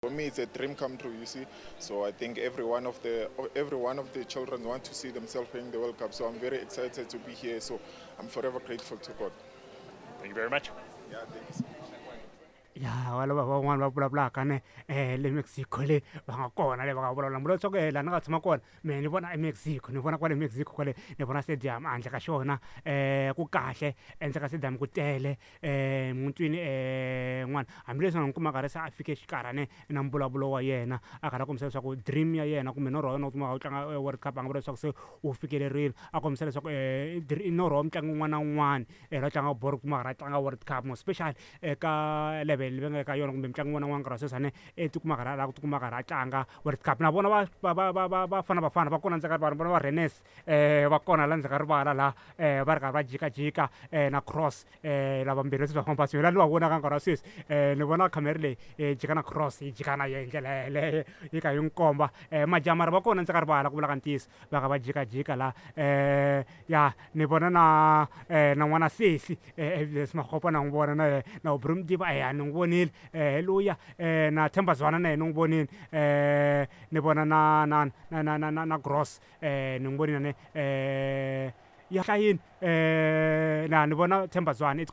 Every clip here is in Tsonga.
For me, it's a dream come true, you see. So I think every one of the children want to see themselves playing the World Cup. So I'm very excited to be here. So I'm forever grateful to God. Thank you very much. Yeah, thank you so much. Ya wala va van'wani va vulavulaka ne le Mexico le va nga kona le va nga vulavula mbula leswaku laha ni nga tshama kona mehe ni vona eMexico, ni vona kwale Mexico kwale, ni vona stadium handle ka xona ku kahle endzeni ka stadium ku tele mutwini n'wana hambileswi nga n'wi kuma karhi se a fike xikarhi na mbulavulo wa yena a karhi a kombisa leswaku dream ya yena kumbe norho wa yena wu kuma u tlanga World Cup, a nga vula leswaku se wu fikelerile, a kombisa leswaku i norho wa mutlangi wun'wana na wun'wana loyi tlangaka bolo kuma karhi a tlanga World Cup, more especially eka level leyi va nga ka yona kumbe mutlangi wun'wana na wun'wana nkarhi wa sweswi ane i tikuma karhi a lava ku tikuma karhi a tlanga World Cup. Na vona va va va va Bafana Bafana va kona ndzeni ka rivala, vona va Rennes va kona la ndzeni ka rivala laha va ri karhi va jikajika na Cross lavambirhi leswi va famba la ni va vonaka nkarhi wa sweswi ni vona khamera leyi yi jika na Cross yi jika na yena hi ndlela yeleyo yi kha yi n'wi komba majaha mara va kona ndzeni ka rivala ku vula ka ntiyiso va kha va jikajika la ya ni vona na n'wana sesi Evidence Makgopa na n'wi vona na yena na Aubrey Modiba ya ni n'wi vonile luya na Themba Zwane na yena ni n'wi vonile ni vona na Gross ni n'wi vonile ne ya hlayini na ni vona Themba Zwane it's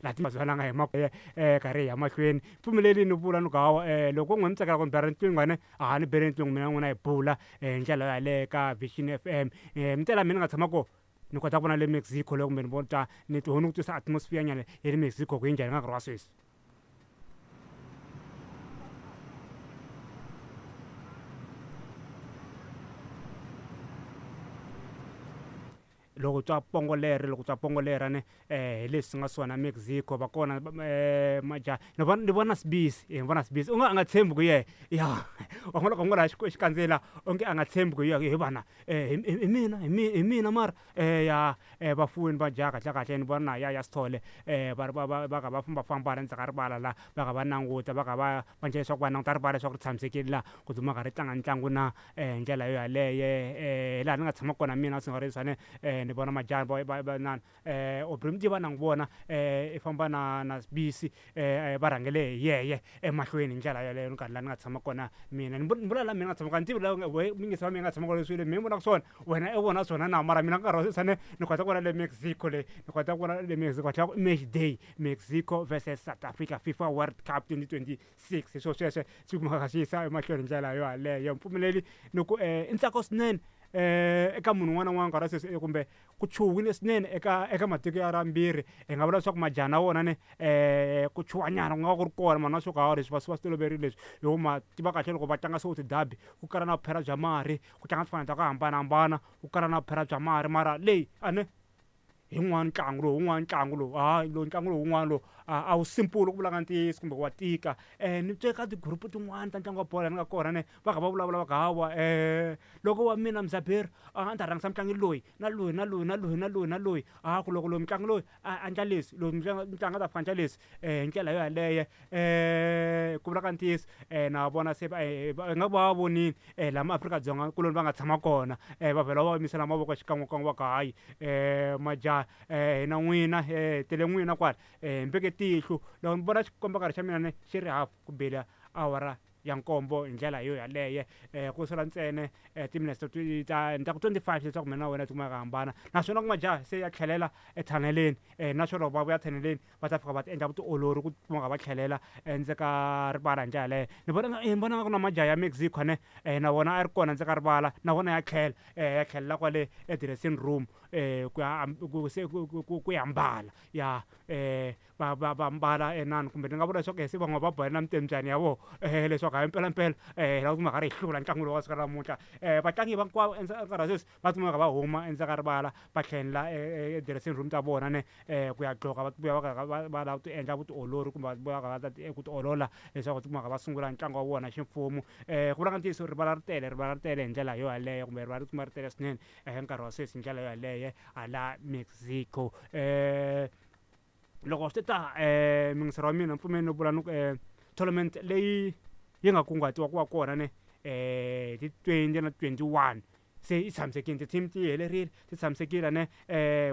la Themba Zwane a nga hima karhi hi ya mahlweni pfumeleli ni vula ni ku hawa loko n'wi mi tsakela ku ni bela riqingho ne a ni bele riqingho mina n'wina hi bula hi ndlela yaleyo ka Vision FM mi tela mina ni nga tshama kona ni kota ku vona le Mexico le kumbe ni vona ni ni ku twisa atmosphere nyana ya le Mexico ku yi njhani ka nkarhi wa sweswi. Loko twa pongo leri loko twa pongo leri ne hi leswi nga swona Mexico va kona majaha ni vona Sibisi, ni vona Sibisi u nga a nga tshembi ku yehe ya wa n'wi loko n'wi laha xikandzeni la onge a nga tshembi ku hi vana hi mina hi mina mara ya vafuwini va jaha kahle kahle ni vona na ya ya Sithole va ri va kha va fambafamba la ndzhaku ka rivala la va kha va languta va kha va va endla leswaku va languta rivala leswaku ri tshamisekile la ku duma karhi tlanga ntlangu na hi ndlela yo yaleyo laha ni nga tshama kona mina swi nga ri swani ni vona majaha va na Aubrey Modiba na n'wi vona i famba na Sibisi va rhangele hi yeye emahlweni hi ndlela yaleyo ni karhi laha ni nga tshama kona mina ni vula laha mina nga tshama kona ni tivi la mingisi wa mina nga tshama kona leswi mina vonaka swona wena i vona swona na mara mina nkarhi wa sweswi ni kota ku vona le Mexico le ni kota ku vona le Mexico tlhela ku match day Mexico versus South Africa FIFA World Cup 2026 hi swo sweswo swi kumaka swi yisa emahlweni hi ndlela yo yaleyo mpfumeleli ni ku i ntsako swinene eka munhu un'wana na un'wana nkarhi wa sweswi kumbe ku chuhile swinene eka matiko ya rambirhi hi nga vula leswaku majaha na wona ne ku chuhanyana ku nga va ku ri kona mara na swo ka leswi va swi va swi toloverile leswi hi ku ma tiva kahle loko va tlanga swo ti-derby ku kala na vuphera bya marhi ku tlanga tifana ta ku hambanahambana ku kala na vuphera bya marhi mara leyi a ne hi wun'wana ntlangu lowu wun'wana ntlangu lowu hayi lowu ntlangu lowu wun'wana lowu a wu simple ku vula ka ntiyiso kumbe wa tika ni twe ka ti-group tin'wani ta ntlangu wa bolo ni nga kona ne va kha va vulavula va ku hawa loko wa mina Mzaberi a ni ta rhangisa mutlangi loyi na loyi na loyi na loyi na loyi na loyi a ku loko loyi mutlangi loyi a endla leswi loyi mutlangi a ta fika endla leswi hi ndlela yo yaleyo ku vula ka ntiyiso na vona se nga va vonile laha maAfrika-Dzonga kuloni va nga tshama kona va vhela va yimisela mavoko xikan'wekan'we va ku hayi majaha hina n'wina hi tele n'wina kwala hi mbeke tihlo loko ni vona xikomba xa mina ni xi ri hafu ku bile awara ya nkombo hi ndlela yo yaleyo ku sala ntsena timinetse ta ni ta ku 25 leswaku mina na wena ti kumeka hambana naswona ku majaha se ya tlhelela ethaneleni naswona loko va vuya thaneleni va ta fika va ti endla vutiolori ku kumeka va tlhelela endzeni ka rivala hi ndlela yaleyo ni vona nga ku na majaha ya Mexico ne na wona a ri kona ndzeni ka rivala na wona ya tlhela ya tlhelela kwale e-dressing room ku ya ku se ku ya mbala ya va mbala enani kumbe ni nga vula leswaku se van'wana va bohela na mitembyani ya vona leswaku hayi mpelampela hi lava ku mhaka ri hi hlula ntlangu lowu wa siku ra namuntlha vatlangi hinkwavo nkarhi wa sweswi va kumeka va huma endzeni ka rivala va tlhelela e-dressing room ta vona ne ku ya gqoka va vuya va va lava ku ti endla vutiolori kumbe va vuya va ta ku tiolola leswaku va kumeka va sungula ntlangu wa vona ximfumo ku vula ka ntiyiso rivala ri tele rivala ri tele hi ndlela yo yaleyo kumbe rivala ri kuma ri tele swinene nkarhi wa sweswi hi ndlela yo yaleyo hala Mexico loko swi ta muyingiseri wa mina mpfumeli no vula ni ku tournament leyi yi nga kunguhatiwa ku va kona ne hi ti 20 na 21. Se yi tshamisekile, ti-team ti helerile, ti tshamisekile ne.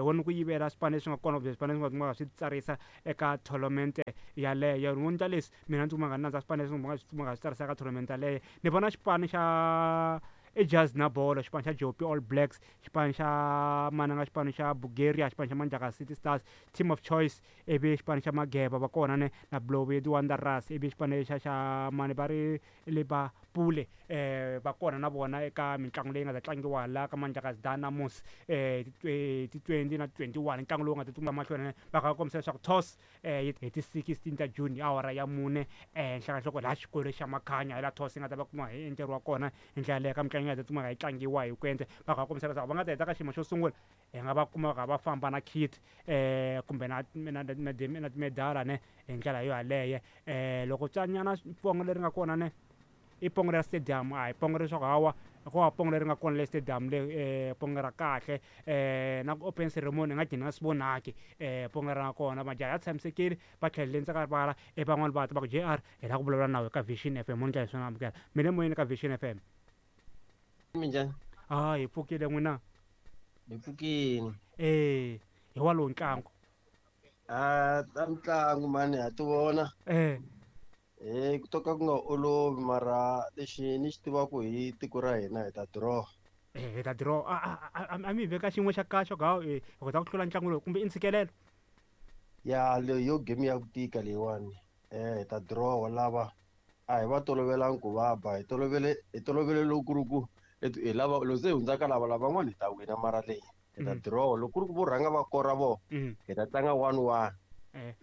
Wona ku yivela swipano leswi nga kona kumbe swipano leswi nga swi tsarisa eka tournament yaleyo. Ni vona leswi mina ndzi kuma nga nandza swipano leswi nga swi tsarisa eka tournament yaleyo. Ni vona xipano xa i Jazz na bolo, xipano xa Jopi All Blacks, xipano xa mananga, xipano xa Bulgaria, xipano xa Manjaka City Stars, Team of Choice, ivi xipano xa Mageba va kona ne na Blowy Wanderers, ivi xipano lexa xa mani va ri Liverpool va kona na vona eka mitlangu leyi nga ta tlangiwa la ka Manjaka Dynamos ti 20 na 21. Ntlangu lowu nga ta tsunga mahlweni va kha va kombisa leswaku toss hi ti 16 ta June hi awara ya 4 ehenhla ka nhloko laha xikolo xa Makhanya hi la toss yi nga ta va kuma hi endleriwa kona. Hi ndlela leyo ka mitlangu yi nga ta tsumbaka yi tlangiwa hi ku endla va kha va kombisa leswaku va nga ta heta ka xiyimo xo sungula, hi nga va kuma va kha va famba na kit kumbe na na na na timedala ne. Hi ndlela yo yaleyo loko tsanyana pongo leri nga kona ne i pongo ra stadium, a hi pongo leswaku hawa ko va pongo leri nga kona le stadium le, pongo ra kahle na ku open ceremony nga gcina swi vonaki pongo ra kona. Majaha ya tshamisekile, va tlhelele ndzhaku ka rivala. E van'wani va ta va ku JR hi lava ku vulavula nawe ka Vision FM. Mo ndlela swona amukela mi le moyeni ka Vision FM. Minjhani? Ah, hi pfukile, n'wina? Hi pfukile. Hi wa lowu ntlangu. A ta mitlangu mani ha ti vona. Ku to ka ku nga olovi, mara lexi ni xi tivaka hi tiko ra hina, hi ta draw. Hi ta draw. A mi veka xin'we xa kahle ku hi kota ku hlula ntlangu lowu kumbe i ntshikelelo? Ya, leyi yo game ya ku tika leyiwani. Hi ta draw. Lava a hi va tolovelangi ku va ba, hi tolovele loko ku ri ku hi lava loko se hi hundzaka lava lavan'wana hi ta wina, mara leyi hi ta draw. Loko ku ri ku vo rhanga va kora vo, hi ta tlanga 1-1.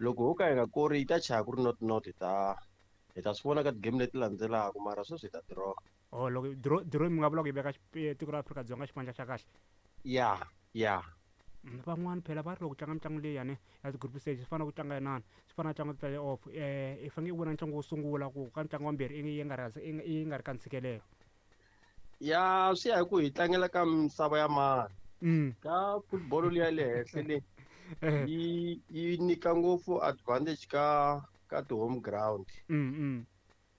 Loko ho ka hi nga kori, yi ta chaya ku ri 0-0. Hi ta swi vona ka ti-game leti landzelaka, mara sweswi hi ta draw. Oh, loko draw mi nga vula ku yi veka tiko ra Afrika-Dzonga xipandla xa kahle? Ya. Van'wani phela va ri loko tlanga mitlangu leyiyani ya ti-group stage, swi fana ku tlanga inani, swi fana na ntlangu wa ti-play off. I faneke i wina ntlangu wo sungula ku ka ntlangu wa mbirhi yi nga ri yi nga ri ka ntshikelelo. Ya, swi ya hi ku hi tlangela ka misava ya mani. Ka football liya le henhla le, yi nyika ngopfu advantage ka ti-home ground.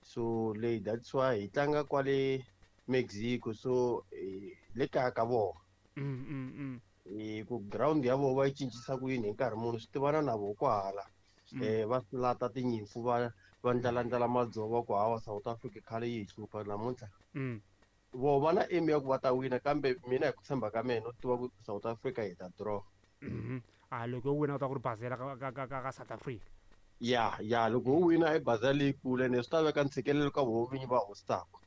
So leyi, that's why hi tlanga kwale Mexico, so hi le kaya ka vona. Hi ku ground ya vona va yi cincisa ku yini hi nkarhi muni, swi tivana na voho kwahala. Va lata tinyimpfu, va ndlalandlala madzovo ku hawa South Africa khale yi hi hlupha namuntlha. Voho va na aim ya ku va ta wina, kambe mina hi ku tshemba ka mina no tiva ku South Africa hi ta draw. A loko yo wina u ta ku ri bazela ka South Africa? Ya, loko ho wina i baza leyikulu, ene swi ta veka ntshikelelo ka voho vinyi va hostaka.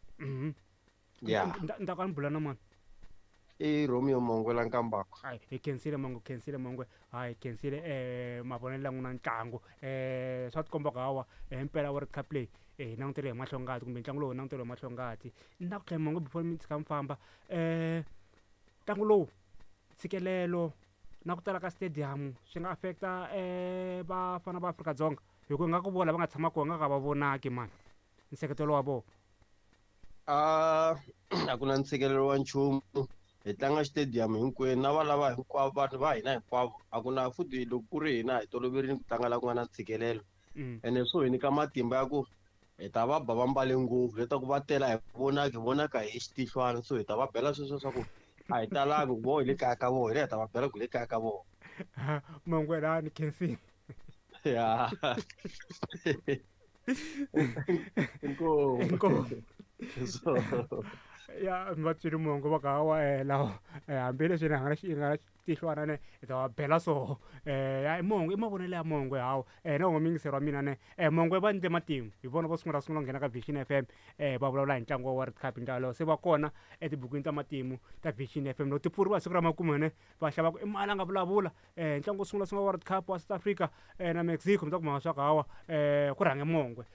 Ya. Ni ta ka ni bula na mani? I Romeo Mongwe Nkambako. Hayi, hi khensile Mongwe, khensile Mongwe. Hayi, khensile mavonelo ya n'wina. Ntlangu swa tikomba ku hawa himpela World Cup leyi hi langutele hi mahlo ngati, kumbe ntlangu lowu hi langutele hi mahlo ngati. Ni ta ku tlhela Mongwe before mi tshika mi famba. Ntlangu lowu, ntshikelelo na ku tala ka stadium swi nga affecta vafana va Afrika-Dzonga, hi ku nga ku vona va nga tshama kona nga ka va vonaki mani nseketelo wa vona? A a ku na ntshikelelo wa nchumu. Hi tlanga stadium hinkwenu na va lava hinkwavo, vanhu va hina hinkwavo. A ku na futhi loko ku ri hina hi toloverile ku tlanga la ku nga na ntshikelelo. Ene swo hi nyika matimba ya ku hi ta va ba va mbale ngopfu leswaku va tela hi vonaka, hi vonaka hi xitihlwana. So hi ta va bela sweswo swa ku a hi talangi ku vo hi le kaya ka vona, hi le hi ta va bela ku le kaya ka vona. Mongwe la, ni khensile. Ya, inkomu. Inkomu. So Ya, mi va tswile mongo va ka hawa lawa hambileswi ni nga xi nga tihlwana ne hi ta va bela. So ya i mongo, i mavonelo ya mongo hawa na wona muyingiseri wa mina ne. Mongo va ndle matimu, hi vona vo sungula ku nghena ka Vision FM va vulavula hi ntlangu wa World Cup. Hi ndlela yaleyo se va kona etibukwini ta matimu ta Vision FM. Loko ti pfuriwa siku ra makume ne, va hlava ku i mali a nga vulavula ntlangu wo sungula World Cup wa South Africa na Mexico. Mi ta kuma swa ku hawa ku rhange mongwe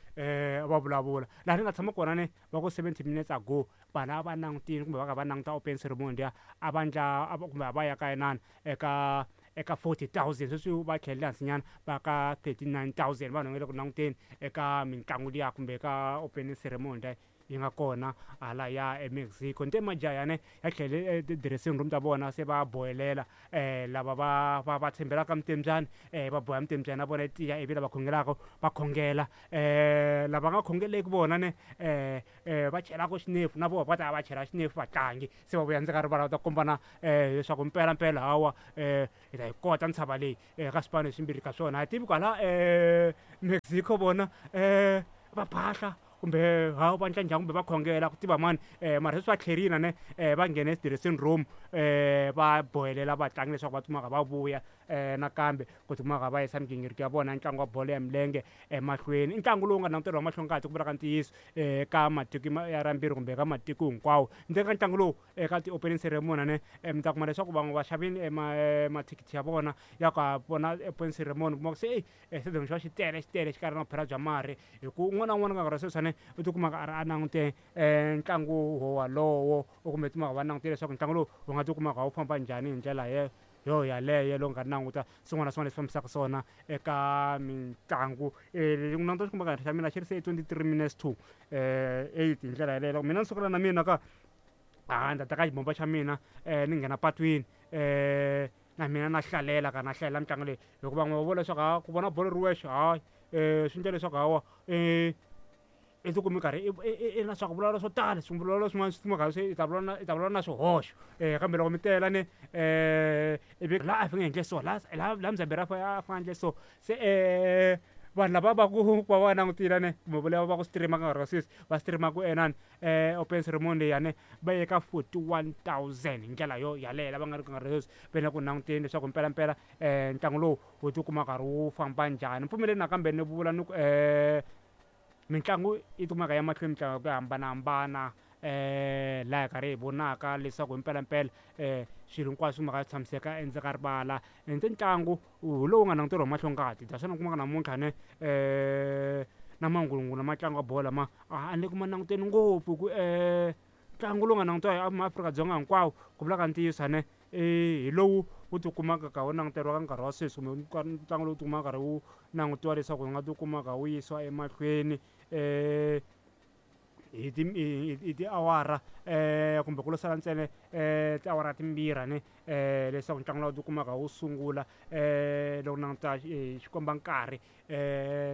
va vulavula laha ni nga tshama kona ne. Va ku 70 minutes ago vanhu a va langutini kumbe va ka va languta open ceremony liya, a va ndla kumbe a va ya ka inani eka 40,000. Sweswi va tlhelele hansinyana, va ka 39,000 vanhu va le ku languteni eka mitlangu liya kumbe eka opening ceremony liya. yi nga kona hala ya eMexico. Nte majayane ya tlhele ti-dressing room ta vona se va bohelela lava va tshembelaka mitembyani va boha mitembyani ya vona yi tiya, ivi lava khongelaka va khongela, lava nga khongeleki vona ne va chelaka xinefu na vona va ta va chela xinefu vatlangi se va vuya ndzeni ka rivala va ta kombana leswaku mpelampela hawa hi ta yi kota ntshava leyi ka swipano leswimbirhi ka swona. A hi tivi kwala Mexico vona va phahla kumbe ha va endla njhani kumbe va khongela ku tiva mani, mara sweswi va tlherile ne va nghene dressing room va bohelela vatlangi leswaku va tikuma va vuya nakambe ku tikuma va yisa migingiriko ya vona ntlangu wa bolo ya milenge emahlweni. I ntlangu lowu nga languteriwa mahlongati ku vula ka ntiyiso ka matiko ya rambirhi kumbe ka matiko hinkwawo. Ndzeni ka ntlangu lowu eka ti-opening ceremony ne mi ta kuma leswaku van'we va xavile mathikithi ya vona ya ku ya vona opening ceremony, kuma ku se stadium xi va xi tele xi tele xi karhi na vuphela bya marhi, hi ku un'wana na un'wana ka nkarhi wa sweswi u tikumaka a ri a langute ntlangu wolowo, kumbe tikumaka va langutile leswaku ntlangu lowu wu nga tikumaka wu famba njhani hi ndlela yo yaleyo. Loko nga languta swin'wana na swin'wana leswi fambisaka swona eka mitlangu, languta xikomba xa mina xi ri se 23 minutes to 8 hi ndlela yaleyo. Loko mina ni sukela na mina ka ni ta teka xibombo xa mina ni nghena patwini na mina na hlalela ka na hlalela mitlangu leyi, hikuva van'we va vula leswaku ku vona bolo ri wexe hayi swi endla leswaku hawa i tikumi karhi i na swa ku vulavula swo tala, swivulavula swin'wana swi kumaka se i ta vulavula na swihoxo, kambe loko mi tela ne ivi laha a fanele endle so, laha laha Mzamberi a fanele endle so, se vanhu lava va ku va va langutile ne kumbe lava va ku stream-a ka nkarhi wa sweswi va stream-aku enani open ceremony leyani va ye ka 41,000 hi ndlela yo yaleyo lava nga ri ka nkarhi sweswi va le ku languteni leswaku mpelampela ntlangu lowu wu tikuma karhi wu famba njhani. Pfumeleni nakambe ni vula ni ku mitlangu yi kumeka ya mahlweni, mitlangu ya ku hambanahambana laha hi karhi hi vonaka leswaku hi mpelampela swilo hinkwaswo mhaka swi tshamiseka endzeni ka rivala. Ende ntlangu hi lowu nga languteriwa hi mahlongati naswona u kumaka namuntlha ne na mangulungulu ma ntlangu wa bolo lama a ni le ku ma languteni ngopfu ku ntlangu lowu nga langutiwa hi maAfrika-Dzonga hinkwawo ku vula ka ntiyiso ne hi lowu wu tikumaka ka wu languteriwa ka nkarhi wa sweswi, kumbe ntlangu lowu tikumaka karhi wu langutiwa leswaku wu nga tikumaka wu yisiwa emahlweni hi hi tiawara kumbe ku lo sala ntsena tiawara timbirhi ne leswaku ntlangu lowu tikumaka wu sungula. Loko languta xikomba nkarhi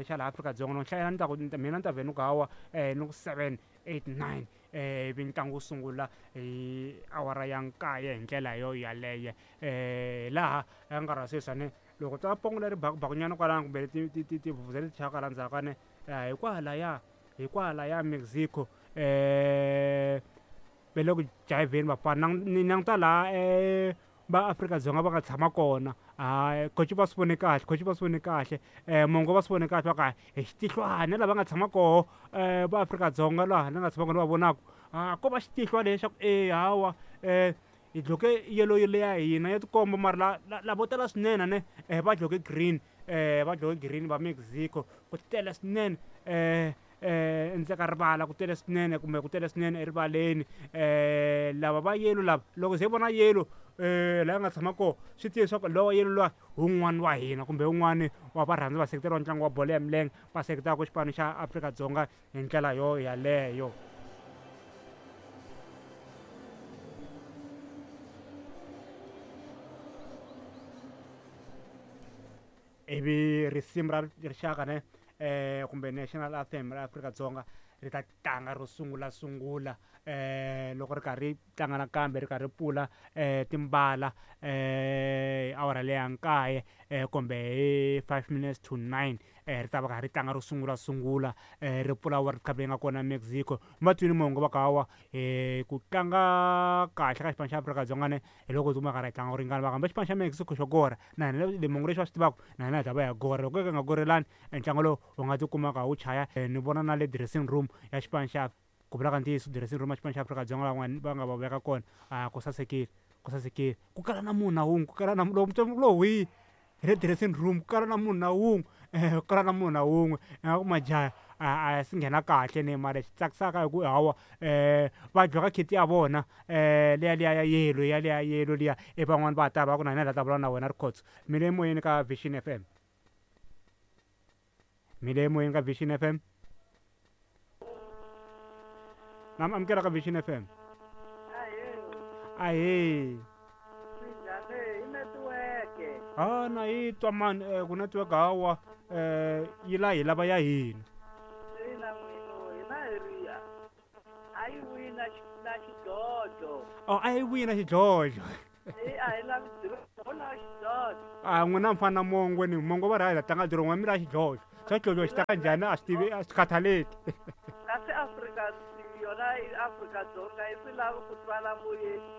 xa laha Afrika-Dzonga loko hlayela ni ta ku mina ni ta vhe ni ku hawa ni ku 7 8 9 ivi ntlangu wu sungula hi awara ya 9 hi ndlela yo yaleyo. Laha ka nkarhi wa sweswi ne loko twa pongo leri bakubakunyana kwalano kumbe tivhuvhuzela leti chayaka la ndzhaku ne hikwalaya Mexico va le ku jayivheni vafana. Ni languta laha va Afrika-Dzonga va nga tshama kona, coach va swi vone kahle, coach va swi vone kahle, mongo va swi vone kahle va ku hi xitihlwana na lava nga tshama koho va Afrika-Dzonga laha ni nga tshama kona va vonaka ko va xitihlwa lexaku e hawa hi dloke yellow leya hina ya tikomba, mara lavo tala swinene ne va dloke green, va dloke green va Mexico ku tele swinene endzeni ka rivala, ku tele swinene kumbe ku tele swinene erivaleni. Lava va yellow lava loko se vona yellow laha nga tshama kona swi tiva leswaku lowa yellow luwa hi wun'wani wa hina kumbe wun'wani wa varhandzi vaseketeri va ntlangu wa bolo ya milenge va seketelaka xipano xa Afrika-Dzonga hi ndlela yo yaleyo. Ivi risimu ra rixaka ne kumbe national anthem ra Afrika-Dzonga ri ta tlanga ro sungula sungula loko ri karhi ri tlanga nakambe ri karhi ri pfula timbala awara leya 9 kumbe hi 5 minutes to 9 ri ta va karhi ri tlanga ro sungula sungula ri pfula World Cup leyi nga kona Mexico. Ma twini mongo va ku hawa ku tlanga kahle ka xipano xa Afrika-Dzonga ne hi loko tikuma karhi hi tlanga ku ringana, va kambe xipano xa Mexico xo kora na hina le mongo lexi va swi tivaka na hina hi ta va hi kora. Loko ka nga korelani ntlangu lowu wu nga tikumaka wu chaya. Ni vona na le dressing room ya xipano xa ku vula ka ntiyiso dressing room ya xipano xa Afrika-Dzonga van'wani va nga va veka kona ku sasekile, ku sasekile ku kala na munhu na wun'we, ku kala na lowu hi le dressing room ku kala na munhu na wun'we, ku kala na munhu na wun'we ingaku majaha a swi nghena kahle ne, mara lexi tsakisaka hi ku hawa va dloka kit ya vona liya liya ya yellow ya liya yellow liya, ivi van'wani va ta va ku na hina hi la ta vulavula na wena Rikhotso. Mi le moyeni ka Vision FM, mi le moyeni ka Vision FM. Na amukela ka Vision FM. Ahee. Ha na yi twa mani ku network hawa yi la hi lava ya hina. Oh, a yi wina xidlodlo. A n'wina mi fana na mongwe ni mongo va ri hayi tlanga dirongo wa mi la xidlodlo. Swa xidlodlo xi ta njhani a swi tivi a swi khathaleki. Kasi Afrika yona Afrika-Dzonga yi swi lavi ku twala moyeni.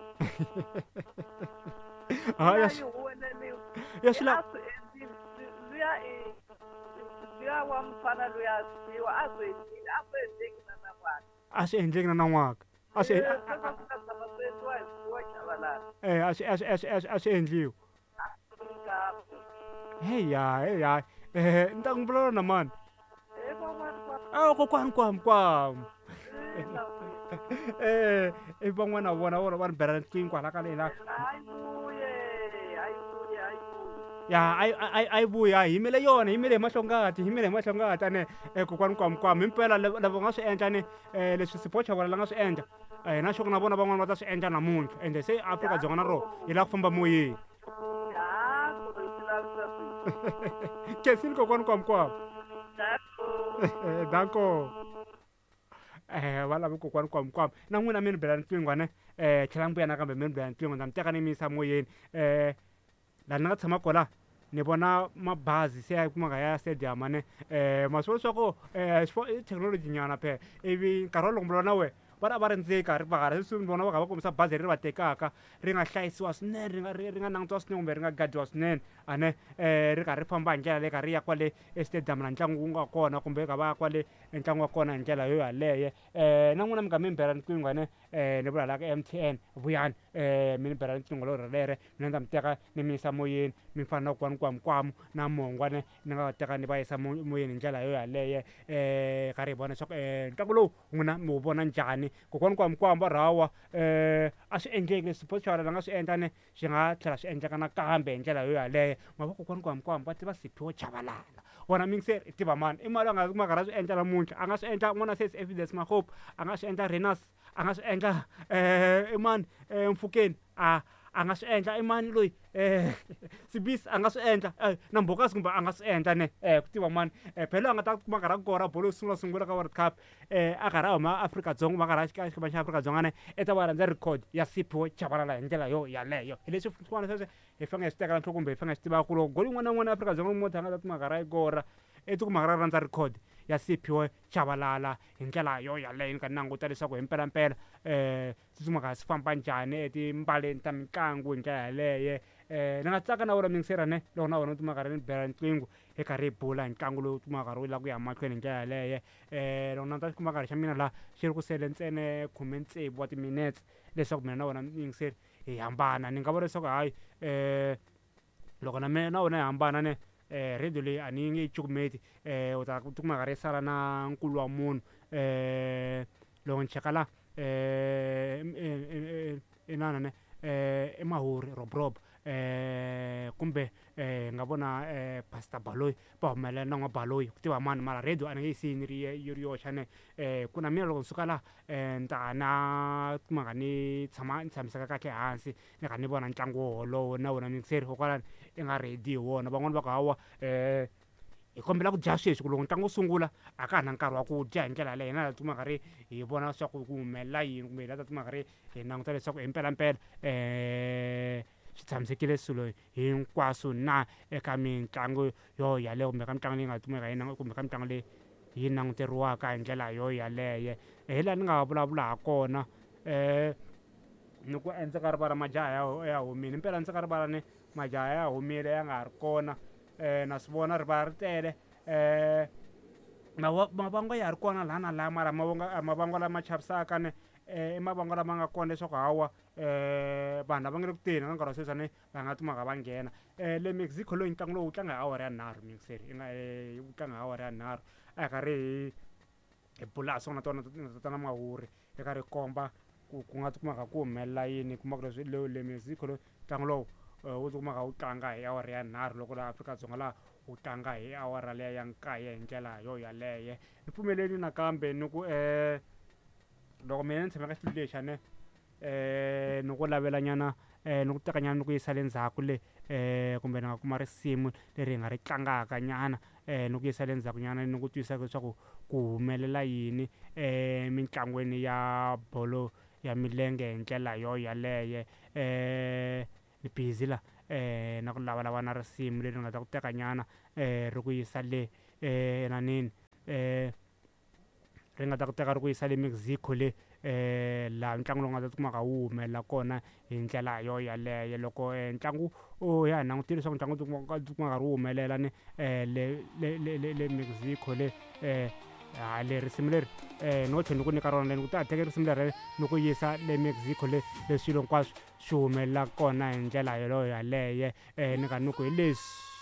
Ya swi lava luya wa mufana luya siwa a swi endleki na nan'waka. A swi endleki na nan'waka. A swi a swi endliwi. Heya ni ta n'wi vulavula na mani? Kokwani kwam. I van'wana vona vona va ni bela riqingho kwala ka le la. Ya a yi vuya hi yimele yona hi yimele hi mahlongati hi yimele hi mahlongati ane kokwani kwam himpela lava nga swi endla ni leswi Sipho Chabalala nga swi endla na xo na vona van'wana va ta swi endla namuntlha ende se Afrika-Dzonga na rona yi lava ku famba moyeni. Khensile kokwani kwam. Danko. Va lava kokwani kwam na n'wina mi ni bela riqingho ne tlhela mi vuya nakambe mi ni bela riqingho na mi teka ni mi yisa moyeni. Laha ni nga tshama kona ni vona mabazi se ya kumaka ya stadium ne ma swi vona leswaku i thekinoloji nyana phela ivi nkarhi wolowo loko na wena va ri a va ri ndzeni ri va sweswi ni vona va kha va kombisa bazi leri va tekaka ri nga hlayisiwa swinene ri nga ri nga langutiwa swinene kumbe ri nga gadiwa swinene ane ri karhi ri famba hi ndlela leyi karhi ri ya kwale estadium laha ntlangu wu nga kona kumbe ka va ya kwale ntlangu wa kona hi ndlela yo yaleyo. Na n'wina mi nga mi ni bela riqingho ane ni vula la ka MTN vuyani mi ni bela riqingho lero lere mina ni ta mi teka ni mi yisa moyeni mi fana na kokwani Kwamkwamu na Mongwa ne ni nga va teka ni va yisa moyeni hi ndlela yo yaleyo karhi hi vona leswaku ntlangu lowu n'wina mi wu vona njhani. Kokwani Kwamkwamu va ri hawa a swi endleki leswi Sipho Chabalala a nga swi endla ne swi nga tlhela swi endleka nakambe hi ndlela yo yaleyo. Ma vo kokwani Kwamkwamu va tiva Siphiwo Chabalala wona miyingiseri i tiva mani i mali a nga kuma karhi a swi endla namuntlha a nga swi endla n'wana sesi Evidence Makgopa a nga swi endla Renas a nga swi endla i mani Mfukeni a nga swi endla i mani loyi Sibisi a nga swi endla na Mbokazi kumbe a nga swi endla ne ku tiva mani phela a nga ta kuma karhi a kora bolo yo sungula sungula ka World Cup a karhi a huma Afrika-Dzonga kumbe a karhi a xikimi xa Afrika-Dzonga ne i ta va rhandza record ya Siphiwo Chabalala hi ndlela yo yaleyo. Hi leswi swin'wana sweswo hi fanele hi swi tekela nhloko kumbe hi fanele hi swi tiva ku loko goli yin'wana na yin'wana Afrika-Dzonga munhu a nga ta kuma karhi a yi kora i tikuma karhi a rhandza record ya Siphiwo Chabalala hi ndlela yo yaleyo. Ni kha ni languta leswaku hi mpelampela swi kumaka swi famba njhani etimbaleni ta mitlangu hi ndlela yaleyo. Ni nga tsaka na wena miyingiseri ne loko na wena u tikuma karhi ni bela riqingho hi karhi hi bula hi ntlangu lowu kumaka karhi wu lava ku ya mahlweni hi ndlela yaleyo. Loko na ta xi kuma karhi xa mina laha xi ri ku sele ntsena 16 wa timinetse leswaku mina na wena miyingiseri hi hambana. Ni nga vula leswaku hayi loko na mina na wena hi hambana ne radio leyi a ni nge yi cukumeti u ta tikuma karhi yi sala na nkulu wa munhu. Loko ni cheka la inana ne i Mahuri Robrob kumbe nga vona Pastor Baloyi va humelela na n'wa Baloyi ku tiva mani mara radio a ni nge yi siyi ni ri yi ri yoxe ne ku na mina loko ni suka la ni ta na kumaka ni tshama ni tshamiseka kahle hansi ni kha ni vona ntlangu wolowo na wena miyingiseri hikokwalano i nga ready hi wona. Van'wani va ku hawa hi kombela ku dya sweswi ku loko ntlangu wu sungula a ka ha na nkarhi wa ku dya hi ndlela yaleyo. Hina hi ta tikuma karhi hi vona leswaku ku humelela yini kumbe hi la ta tikuma karhi hi languta leswaku hi mpelampela swi tshamisekile swilo hinkwaswo na eka mitlangu yo yaleyo kumbe ka mitlangu leyi nga kumeka yi kumbe ka mitlangu leyi yi languteriwaka hi ndlela yo yaleyo. Hi laha ni nga vulavula ha kona ni ku endzeni ka rivala majaha ya humile impela ndzeni ka rivala ni majaha ya humile ya nga ha ri kona na swi vona rivala ri tele mavangwa ya ha ri kona laha na laha mara mavangwa lama chavisaka ne i mavangwa lama nga kona leswaku hawa vanhu lava nga le ku teni ka nkarhi wa sweswi va nga timaka va nghena. Le Mexico loyi ntlangu lowu wu tlanga hi awara ya 3 miyingiseri i nga wu tlanga hi awara ya 3 a hi karhi hi bula ha swona tona tatana Mahuri hi karhi hi komba ku ku nga tikumaka ku humelela yini kuma ku leswi le Mexico loyi ntlangu lowu wu tikumaka wu tlanga hi awara ya 3 loko laha Afrika-Dzonga laha wu tlanga hi awara liya ya 9 hi ndlela yo yaleyo. Ni pfumeleli nakambe ni ku Loko mina ni tshame ka xitulu lexi ne ni ku lavela nyana ni ku teka nyana ni ku yisa le ndzhaku le kumbe ni nga kuma risimu leri hi nga ri tlangaka nyana ni ku yisa le ndzhaku nyana ni ku twisisa leswaku ku humelela yini emitlangwini ya bolo ya milenge hi ndlela yo yaleye. Ni busy la na ku lavalava na risimu leri nga ta ku teka nyana ri ku yisa le enanini ri nga ta ku teka ri ku yisa le Mexico le laha ntlangu lowu nga ta tikumaka wu humelela kona hi ndlela yo yaleyo. Loko ntlangu u ya hi langutile leswaku ntlangu wu tikuma karhi wu humelela ni le le le le le Mexico le ha le risimu leri no tlhela ni ku nyika rona ni ku ta teke risimu leri ni ku yisa le Mexico le leswi swilo hinkwaswo swi humelela kona hi ndlela yeleyo yaleye ni nga ni ku hi leswi.